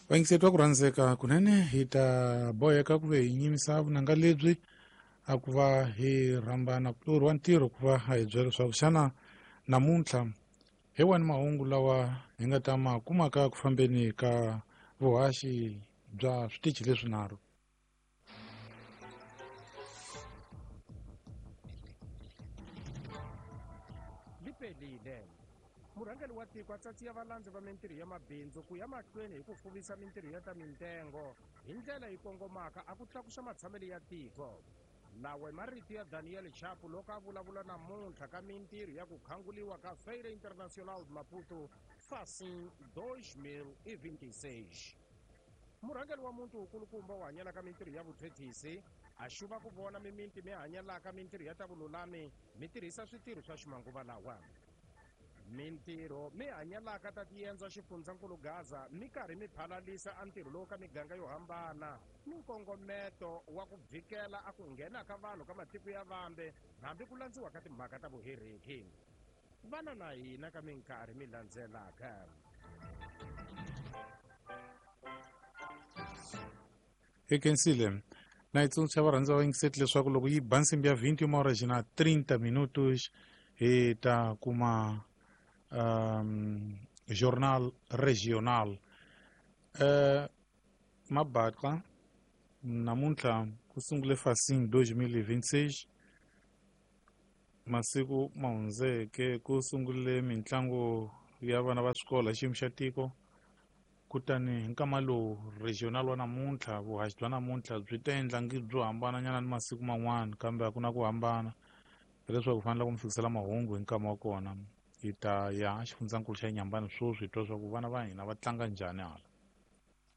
Vayingiseti va ku rhandzeka kunene, hi ta boheka ku ve hi nyimisa vunanga lebyi a ku va hi rhambana kulorhi wa ntirho ku va a hi byela leswaku xana namuntlha hi wani mahungu lawa hi nga ta ma kumaka ku fambeni ka vuhaxi bya switichi leswinharhu. Lipelile. Murhangeri wa tiko a tsatsiya valandzi va mintirho ya mabindzu ku ya mahlweni hi ku fuvisa mintirho ya ta mintengo hi ndlela yi kongomaka a ku tlakusa matshamelo ya tiko. Lawa i marito ya Daniel Chapo loko a vulavula namuntlha ka mintirho ya ku khanguliwa ka Feira Internacional de Maputo Facim 2026. Murhangeri wa muti wukulukumba wu hanyelaka mintirho ya vuthethisi a xuva ku vona mimiti mi hanyelaka mintirho ya ta vululami mi tirhisa switirho swa ximanguva lawa. Mintirho mi hanyelaka ta tiendzo xifundzankulu Gaza mi karhi mi phalalisa a ntirho lowu ka miganga yo hambana ni nkongometo wa ku vhikela a ku nghena ka vanhu ka matiko ya vambe hambi ku landziwa ka timhaka ta vuhereki. Vana na hina ka minkarhi mi landzelaka. Hi khensile na yi tsundzuxa varhandzi va vayingiseti leswaku loko yi ba nsimbi ya 21 horas na 30 minutos hi ta kuma journal regional. Mabaxa namuntlha ku sungule Facim 2026, masiku ma hundzeke ku sungule mitlangu ya vana va swikolo hi xiyimo xa tiko. Kutani hi nkama lowu regional wa namuntlha, vuhaxi bya namuntlha byi ta endla ngi byo hambananyana ni masiku man'wana, kambe a ku na ku hambana, hileswaku fanele ku mi fikisela mahungu hi nkama wa kona. Hi ta ya xifundzankulu xa Nyambani sweswi hi twa swa ku vana va hina va tlanga njhani hala.